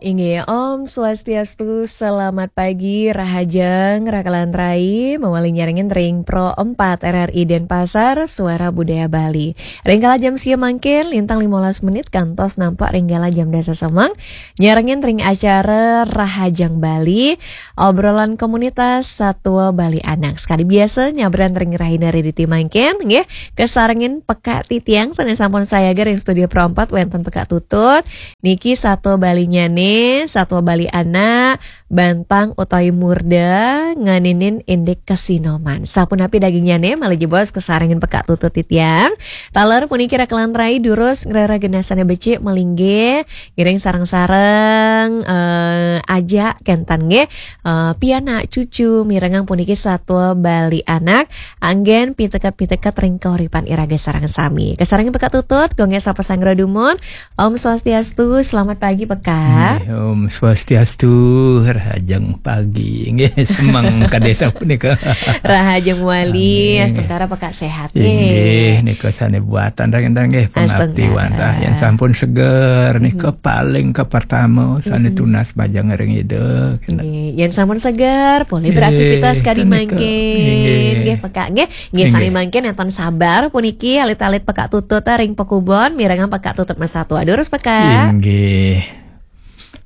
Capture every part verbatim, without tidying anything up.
Inggih, Om Swastiastu, selamat pagi, rahajeng, rakalan rai, mawali nyarengin ring Pro empat R R I Denpasar, Suara Budaya Bali. Ring kala jam sia mangkin, lintang limolas menit, kantos nampak ring kala jam dasa semeng, nyarengin ring acara Rahajeng Bali, obrolan komunitas Satua Bali Anak. Sekadi biasa, nyabran ring rahina Rediti mangkin, nggih, kasarengin pekak titiang, sane sampun sayaga ring studio Pro empat, wenten pekak tutut, Niki satua Balinyane, satua Bali anak, bantang utawi murda, nganinin indik kasinoman. Sapunapi dagingnyane, malih jebos kasarengin pekak tutut titiang. Taler puniki rakalan rai durus ngrereh genah sane becik malinggih, ngiring sareng-sareng, eh, ajak kenten nggih, eh, pianak cucu mirengang puniki satua Bali anak, anggen piteket-piteket ring kauripan iraga sareng sami. Kasarengin pekak tutut, gung sapa sanggra dumun, Om Swastiastu, selamat pagi, Pekak. Nggih, Om Swastiastu, rahajeng pagi. Nggih, semeng kadi sapunika. Rahajeng wali, Nggih. Astungkara pekak sehat, Inggih, nggih. Nika sane buatan ring enten nggih, pangabdi Astungkara. Wantah. Yen sampun seger, nika paling kapertama sane tunas majeng ring Ida. Kena. Nggih, yen sampun seger, boleh beraktivitas Nggih, kadi nika. mangkin. Nggih. Nggih, Pekak, nggih. Nggih, sane Nggih. Mangkin enten sabar puniki alit-alit pekak tutut ring pekubon, mirengang pekak tutut masatua. Durus, Pekak. Inggih.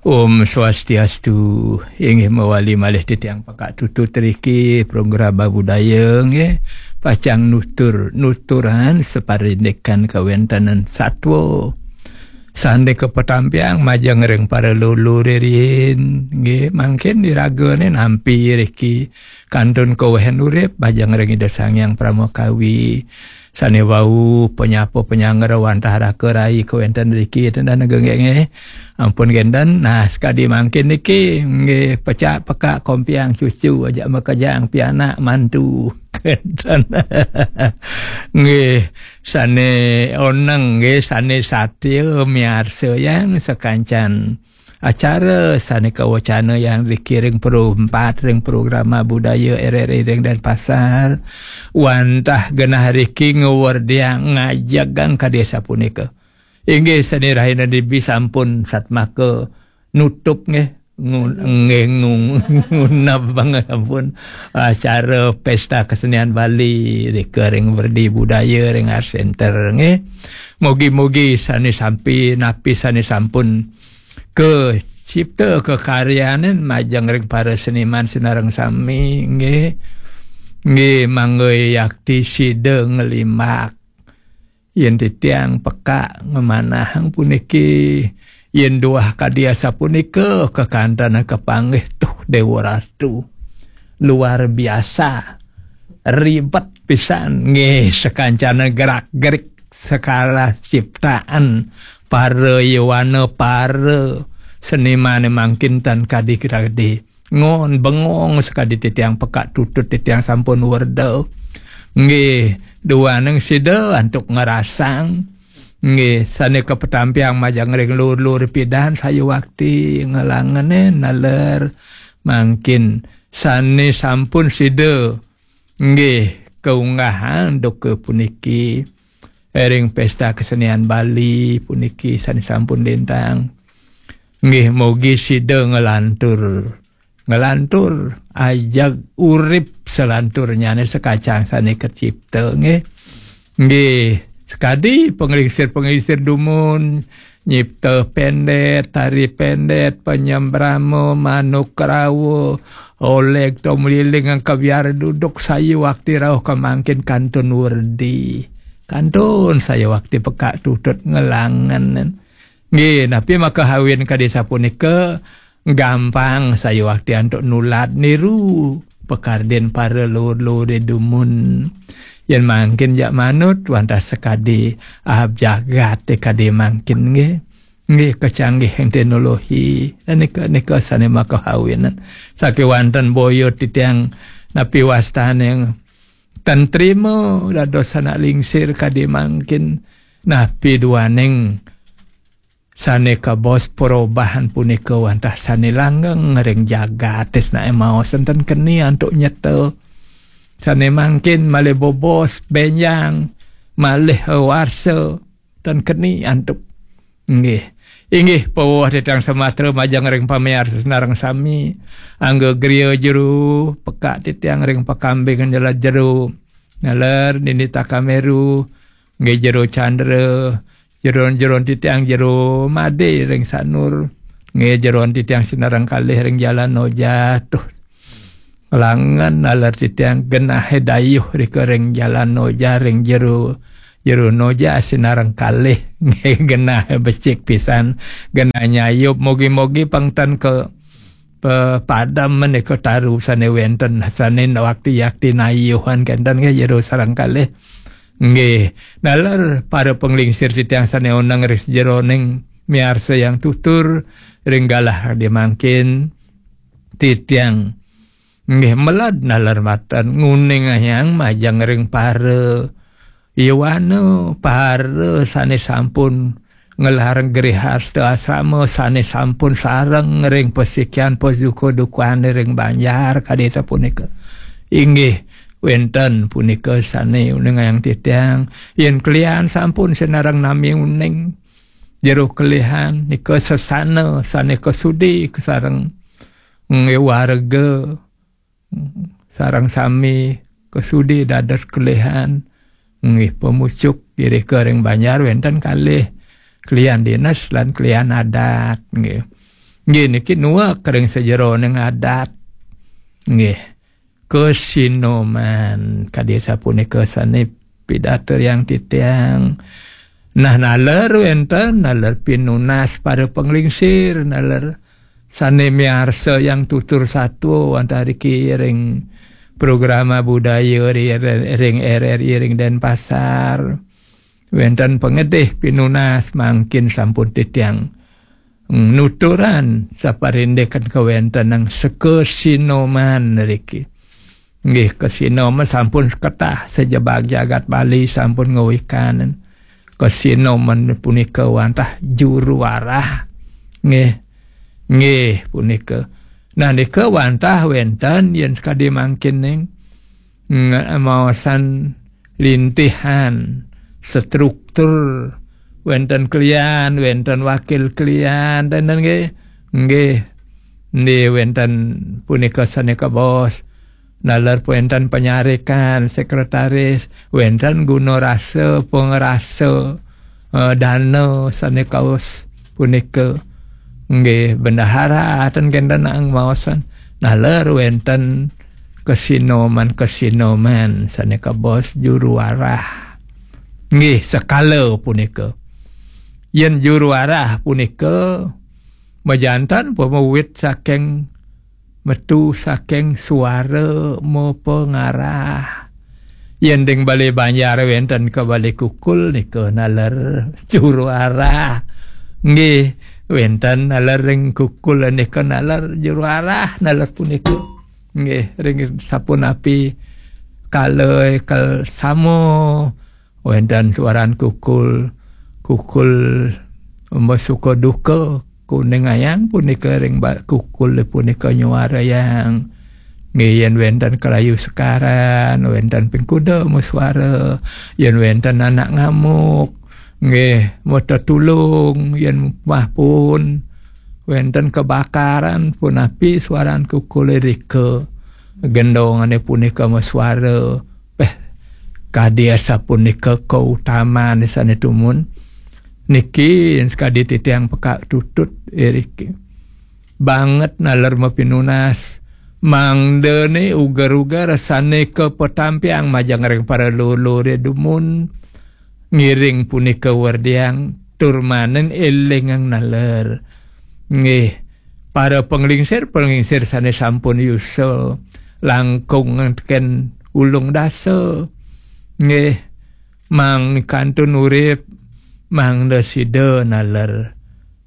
Om Swastiastu. Inggih, mawali malih titiang pekak tutut riki program budaya nggih. Pacang nutur, nuturan saparindikan kawentenan satua. Sane kapetampiang majeng ring para lulu ririn nggih. Mangkin iragane nampi riki kantun kawehan urip majeng ring Ida Sang Hyang Parama Kawi. Sane wau panyapa panyanggra wantah raka rai kawenten riki tendana nggih, nggih. Ampun kenten. Nah, sekadi mangkin niki nggih, pecak pekak kompiang cucu ajak makejang pianak mantu. Kenten. Nggih, sane oneng nggih, sane satia miarsa yang sakancan acara sane kawacana yang dikiring Pro empat ring programa budaya R R I ring Denpasar. Wantah genah riki ngawerdiang ngajegang kadi sapunika. Inggih, sane rahina dibi sampun satmaka nutup nggih. Ngun-, nggih, ngun-, nguneb banget ampun acara Pesta Kesenian Bali rika ring Werdi Budaya ring Art Center nggih. Mugi-mugi sane sampi napi sane sampun kacipta kakaryanin majeng ring para seniman sinareng sami nggih. Nggih, mangga yakti sida nglimbak. Yen titiang pekak ngamanahang puniki, yen duah kadi asapunika kakantenan kapanggih tuh Dewa Ratu. Luar biasa. Ribet pisan nggih, sekancana gerak-gerik sekala ciptaan para yowana, para senimane mangkin tan kadi-kadi. Ngon bengong sekadi titiang pekak tutut titiang sampun werda. Nggih, duaning sida antuk ngerasang. Nggih, sane kapetampiang majeng ring lur-lur pidan sayuwakti ngelangene naler mangkin sane sampun sida nggih kaunggahang duka puniki. Ring Pesta Kesenian Bali puniki sane sampun lintang. Nggih, mugi sida ngelantur, ngelantur ajeg urip selanturnyane sekacang sane kacipta nggih. Nggih, sekadi panglingsir-panglingsir dumun, nyipta pendet, tari pendet, panyembrama, manuk rawa, oleg to meliling angka biar duduk sayuwakti rauh kamangkin kantun werdi. Kantun sayuwakti pekak tutut ngelangen. Nggih, napi makahawin kadi sapunika gampang sayuwakti antuk nulad niru pakardin para lur-lur dumun. Yen mangkin jak manut wantah sekadi ahab jagat kadi mangkin nggih. Nggih, kecanggihan teknologi. Nika, nika sane makahawin. Sakewanten boya titiang napi wastane tan trima dados anak lingsir kadi mangkin. Napi duaning sane kabos perubahan punika wantah sane langgeng ring jagat, tresnane maos enten keni antuk nyeta. Sane mangkin malih bobos, benjang, malih warsa, ten keni antuk. Nggih. Inggih, pawuh titiang Sumatera majeng ring pamiarsa sinareng sami. Angga griya jero, pekak titiang ring pakambing nyelat jero. Naler Nini Takameru, nggih jero Chandra, jero-jero titiang jero Made ring Sanur, nggih jero titiang sinareng kalih ring Jalan Noja. Tuh, langan naler titiang genah dayuh rika ring Jalan Noja ring jero, jero Noja sinareng kalih. Nggih, genah becik pisan, genah nyayup. Mogi-mogi pang ten ka pe-, padam menika taru sane wenten, sane wakti-yakti nayuhan kenten nggih jero sareng kalih. Nggih, naler para panglingsir titiang sane oneng ring sajeroning miarsa yang tutur ring galah di mangkin titiang. Nggih, melad naler matan nguningayang majeng ring para yowana, para sane sampun ngelarang grihasta asrama, sane sampun sareng ring pasikian pasuka dukane ring banjar kadi sapunika. Inggih, wenten punika sane uningayang titiang, yen kelian sampun sinareng nami uning jero kelihan nika sesana sane kasudi kasareng nggih warga sareng sami kasudi dados kelihan nggih pamucuk irika ring banjar wenten kalih kelian dinas lan kelian adat nggih. Nggih niki nuek ring sajeroning adat nggih. Kasinoman kadi sapunika sane pidarta yang titiang. Nah, naler wenten, naler pinunas para panglingsir, naler sane miarsa yang tutur satwa wantah riki ring programa budaya ri-, ring R R I ring Denpasar. Wenten pangedih pinunas mangkin sampun titiang nuturan saparindikan kawentenang sakasinoman riki. Nggih, kasinoman sampun ketah sajebag jagat Bali sampun ngawikan. Kasinoman punika wantah juru arah. Nggih. Nggih, punika. Nah, nika wantah wenten yen sakadi mangkin ning ng-, maosan lintihan, struktur, wenten kelian, wenten wakil kelian, dan, dan nggih, nggih, nggih, wenten punika sane kabaos, naler wenten panyarikan, sekretaris, wenten guna rasa, pangrasa, eh, dana sane kaos punika. Nggih, bendahara ten kenten ang maosan. Naler wenten kasinoman-kasinoman sane kabaos juru arah. Nggih, sekala punika. Yen juru arah punika majantan pamawit saking metu saking suara mapangarah. Yen ding bale banjar wenten ka bale kukul nika naler juru arah. Nggih, wenten naler ring kukul nika naler juru arah, naler punika. Nggih, ring sapunapi kala kal samo wenten suaran kukul, kukul masuka duka, kuningayang punika ring ba-, kukul punika nyuarayang. Nggih, yen wenten kalayu sekaran, wenten ping kuda masuara, yen wenten anak ngamuk, nggih, matetulung, yen mah pun wenten kebakaran punapi suaran kukul rika. Gendongane punika masuara. Peh, kadi asapunika kautaman sane tumun. Niki sakadi titiang pekak tutut iriki. Banget naler mapinunas. Mangdane uger-uger sane kapatampiang majeng ring para lulure dumun. Ngiring punika werdiang tur manen elingang naler. Nggih, para panglingsir-panglingsir sane sampun yusa langkung teken ulung dasa. Nggih, mangkantun urip, mangda sida naler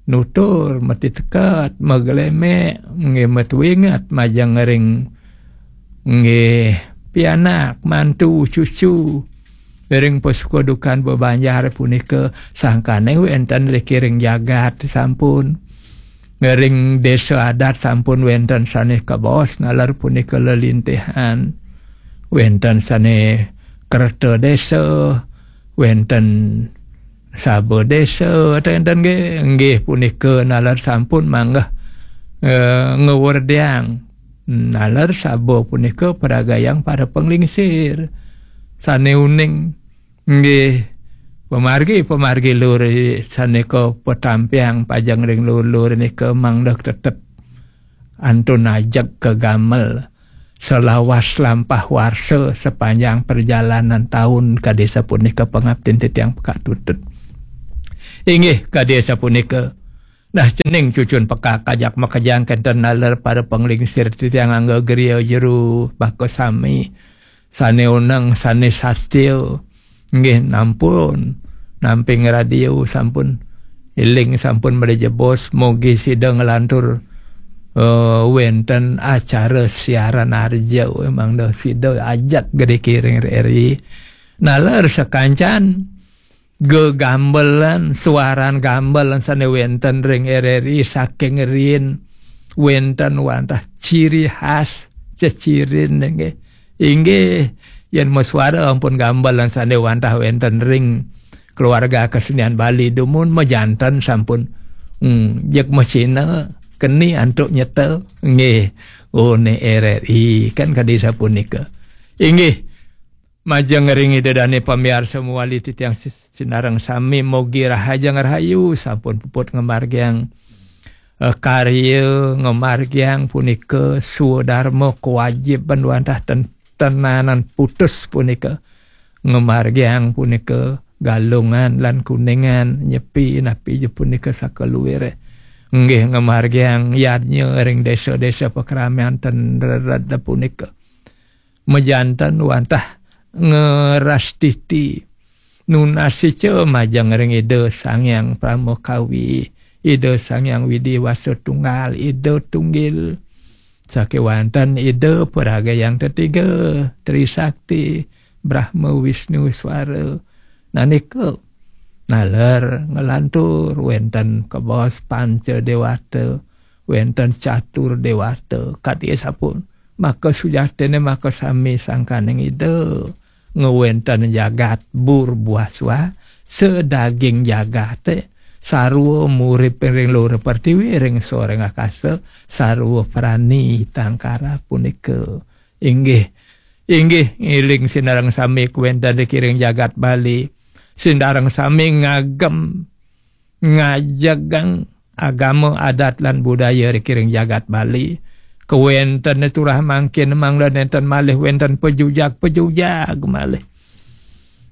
nutur, matiteket, maglemek, nggih, matuinget majeng ring, nggih, pianak, mantu, cucu, ring pasuka dukan bebanjar punika sangkane wenten riki ring jagat sampun. Ring desa adat sampun wenten sane kabaos naler punika lelintihan. Wenten sane kerta desa, wenten Saba desa, enten nggih, nggih punika naler sampun manggeh, eh, ngewerdiang. Naler saba punika peragayang para penglingsir. Sane uning, nggih, pemargi, pemargi lur sane ka petampiang pajeng ring lur-lur nika mangda tetep antun ajeg ka gamel selawas lampah warsa sepanjang perjalanan taun kadi sapunika pangaptin titiang pekatutut. Inggih, kadi sapunika. Nah, cening cucun pekak ajak makejang kenten naler para penglingsir titiang angga griya jeru baka sami. Sane uneng, sane satya. Nggih, nampun. Nampi ngradio sampun. Iling sampun mrejebos, mogi sida nglantur, eh, wenten acara siaran arja, emang dah sida ajak gede kiring R R I. Naler sakancan gegambelan, suaran gambelan sane wenten ring R R I saking riin wenten wantah ciri khas cecirin nggih. Inggih, yen masuara ampun gambelan sane wantah wenten ring keluarga kesenian Bali dumun majanten sampun, hmm, jeg mesina keni antuk nyeta nggih. Oh, ne R R I kan kadi sapunika. Inggih, majeng ring Ida Dane pamiarsa muali titiang sis-, sinareng sami mogi rahajeng rahayu sampun puput ngamargiang, eh, karya ngamargiang punika swadarma kewajiban wantah ten-, tenanan putus punika ngamargiang punika Galungan lan Kuningan nyepi napi je punika sakaluire. Nggih ngamargiang yadnya ring desa-desa pakramian ten rered punika. Majanten wantah ngerastiti. Nunasica majeng ring Ida Sang Hyang Pramakawi, Ida Sang Hyang Widi Wasa Tunggal, Ida Tunggil. Sakewanten Ida Paragayang Tetiga, Trisakti, Brahma Wisnu Swara. Nanika naler nglantur wenten kabaos panca dewata, wenten catur dewata, kadi sampun. Maka sujatine maka sami sangkaning Ida ngwenten jagat bur buah swa, sedaging jagate, sarwa murip ring luhur pertiwi, ring sor ring akasa, sarwa prani tangkara punika. Inggih, inggih, ngiling sinareng sami kawenten ring jagat Bali. Sinareng sami ngagem ngajegang agama, adat, lan budaya ring jagat Bali. Kawentene turah mangkin mangda nenten malih wenten pejujag-pejujag malih.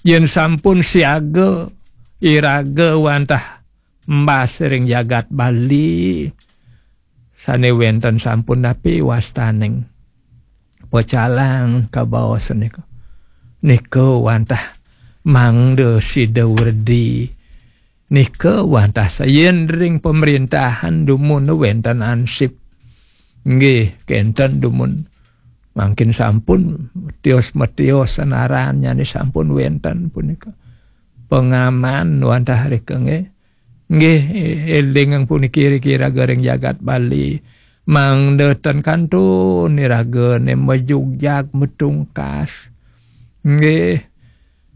Yen sampun siaga iraga wantah embas ring jagat Bali, sane wenten sampun napi wastaning pecalang kabaos nika. Nika wantah mangda sida werdi. Nika wantah sayen ring pemerintahan dumun wenten ansip. Nggih, kenten dumun. Mangkin sampun tios-metios senarannyane sampun wenten punika. Pengaman wantah rika nggih. Nggih, eling puniki riki raga ring jagat Bali. Mangda ten kantun iragane majugjag matungkas. Nggih,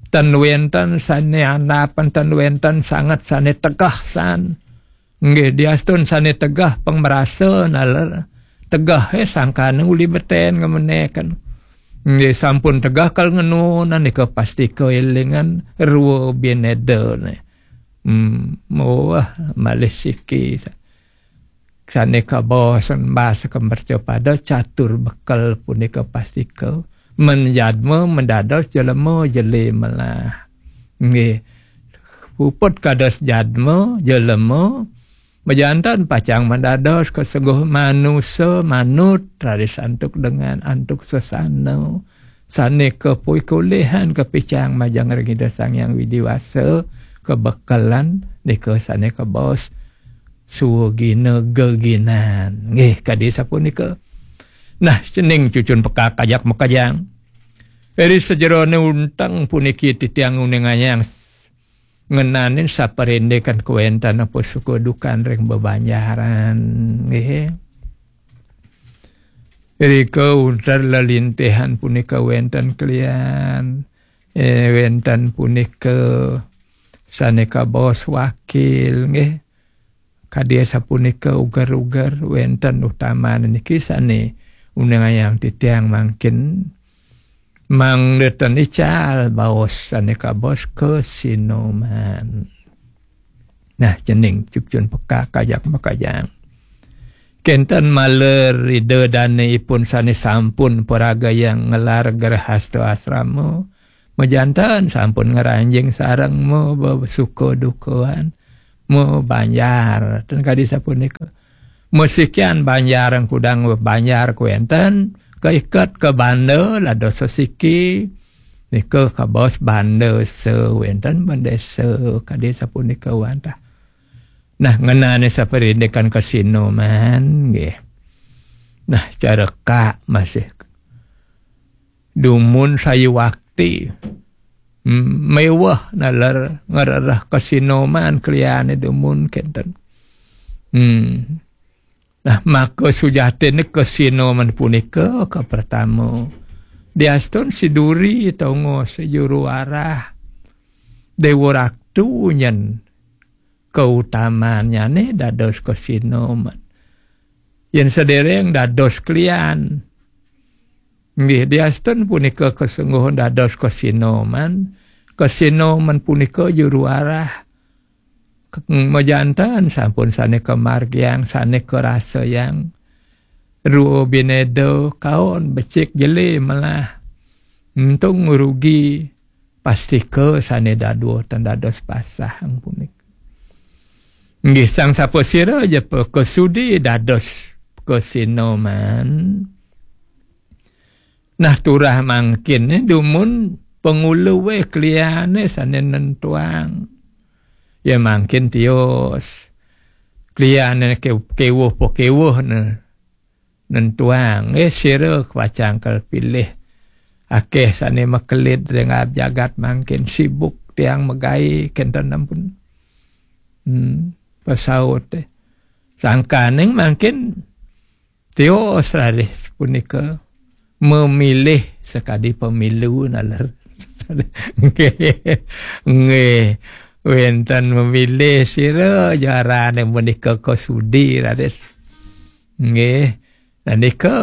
ten wenten sane andap, ten wenten sanget sane tegeh san. Nggih, diastun sane tegeh pang marasa naler. Tegeh, eh, sangkane uli beten ngemeneken. Nggih, sampun tegeh kal ngenunan nika pastika elingan rua binedane. Hmm, wah, malih siki. Sane kabaosan basa kemercapada catur bekel punika pastika. Men jadma mendados jelema jele melah. Nggih. Puput kados jadma, jelema, majanten pacang mendados kasengguh manusa, manut, raris antuk dengan, antuk sesana. Sane kapuikulihan kapicang majeng ring Ida Sang Hyang Widi Wasa, kabekelan nika sane kabaos suwagina geginan. Nggih, kadi sapunika. Nah, cening cucun pekak ajak makejang. Ri sajerone unteng puniki titiang nguningayang s-, ngenanin saparindikan kawenten apa suka dukan ring bebanjaran. Nggih. Rika unter lelintihan punika wenten kelian. Eh, wenten punika sané kabaos wakil, nggih. Kadi sapunika uger-uger wénten utaman niki sané uningayang titiang mangkin mangda ten ical baos sané kabaos kasinoman. Nah, cening cucun pekak ajak makajang. Kénten malih Ida dané ipun sané sampun paragayang ngelar grehasta asrama, majanten sampun ngranjing sareng ma besuka dukaan, ma banjar. Ten kadi sapunika. Masikian banjar kudang banjar kuénten, kaiket ka banda lado sesiki, nika kabaos banda sa wénten bendesa kadi sapunika wantah. Nah, ngenané saparindikan kasinoman, nggih. Nah, cara kak masih dumun sayuwakti. Hmm, méweh naler ngrereh kasinoman kliané dumun kénten. Hmm. Nah, maka sujatiné kasinoman punika kapertama. Diastun siduri tongos juru arah. Déwa Raktu nyén kautamannyané dados kasinoman. Yén sadéréng dados klian. Nggih, diastun punika kasengguhun dados kasinoman. Kasinoman punika juru arah. Majanten sampun sané kamargiang, sané karasayang. Rua binéda kaon becik jeli melah. Entung rugi pastika sané dadua ten dados pasah punika. Nggih, sang sapasira ja pakasudi dados kasinoman. Nah, turah mangkin dumun pangulué kliané sané nentuang. Ya mangkin tios. Kliané ke-, kéwuh pakéwuh né nentuang. Eh, sira pacang kal pilih. Akéh sané makelid ring jagat mangkin sibuk tiang magaé kénten ampun. Hmm, pasaut, eh. Sangkaning mangkin tios raris punika memilih sakadi pemilu naler. Nggih. Nggih. Wénten memilih sira jarané menika kasudi raris. Nggih. Nah, nika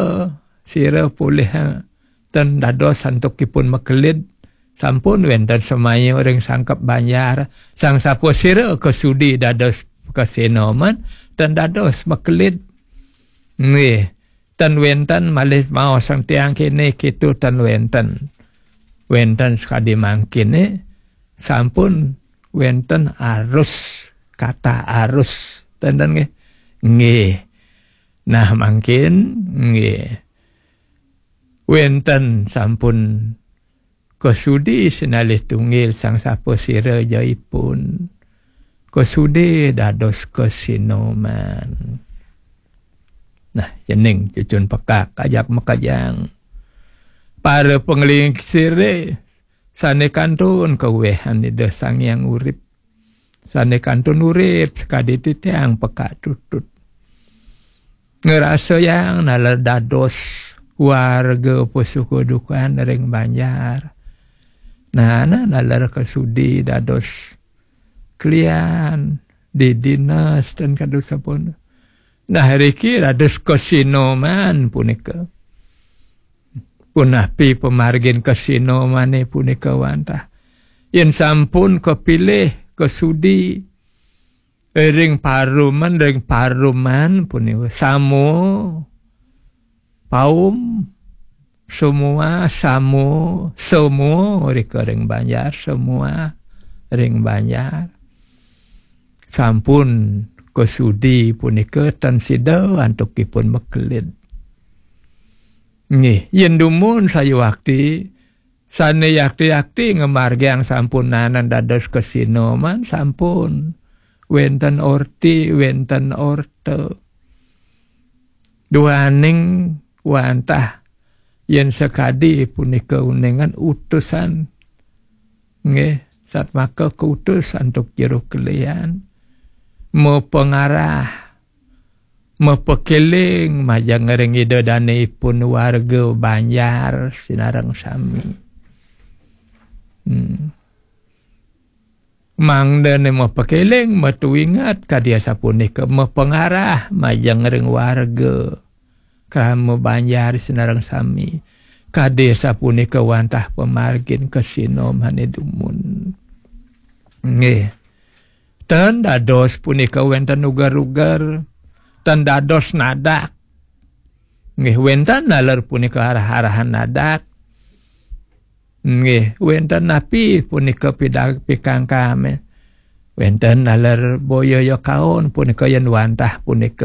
sira polih, eh, ten dados antukipun makelid. Sampun wénten semaya ring sangkep banjar. Sang sapasira kasudi dados kasinoman, ten dados makelid. Nggih, ten wénten malih maosang tiang kéné kéto ten wénten. Wénten sakadi mangkiné, sampun wénten arus, kata arus. Ten, ten nggih. Nggih. Nah, mangkin nggih. Wénten sampun kasudi sinalih tunggil sang sapasira ja ipun. Kasudi dados kasinoman. Nah, cening cucun pekak ajak makajang. Para panglingsiré sané kantun kawihan Ida Sang Hyang Urip. Sané kantun urip sakadi titiang pekak tutut. Ngrasayang naler dados warga pasuka dukan ring banjar. Nah, nah, naler kasudi dados klian di dinas ten kadu sampun. Nah, riki dados kasinoman punika. Punapi pamargin kasinomané punika wantah. Yén sampun kapilih kasudi ring paruman, ring paruman punika samo paum, semua, samo, semua rika ring banjar, semua ring banjar. Sampun kasudi punika tan sida antukipun makelid. Nggih, yén dumun sayuwakti, sané yakti-yakti ngamargiang sampunanan dados kasinoman sampun. Wénten orti, wénten orta. Duaning wantah yén sakadi punika uningan utusan. Nggih, satmaka kautus antuk jero kelian. Mapangarah, mapakéling majeng ring Ida Dané ipun warga banjar sinareng sami. Hmm. Mangdane mapakeling, matuingat kadi asapunika, mapangarah majeng ring warga, krama banjar sinareng sami, kadi asapunika wantah pamargin kasina mane dumun. Nggih. Ten dados punika wenten uger-uger, ten dados nadak. Nggih, wenten naler punika arah-arahan nadak. Nggih, wenten napi punika pidag pikangkame. Wenten naler boya ya kaon punika yen wantah punika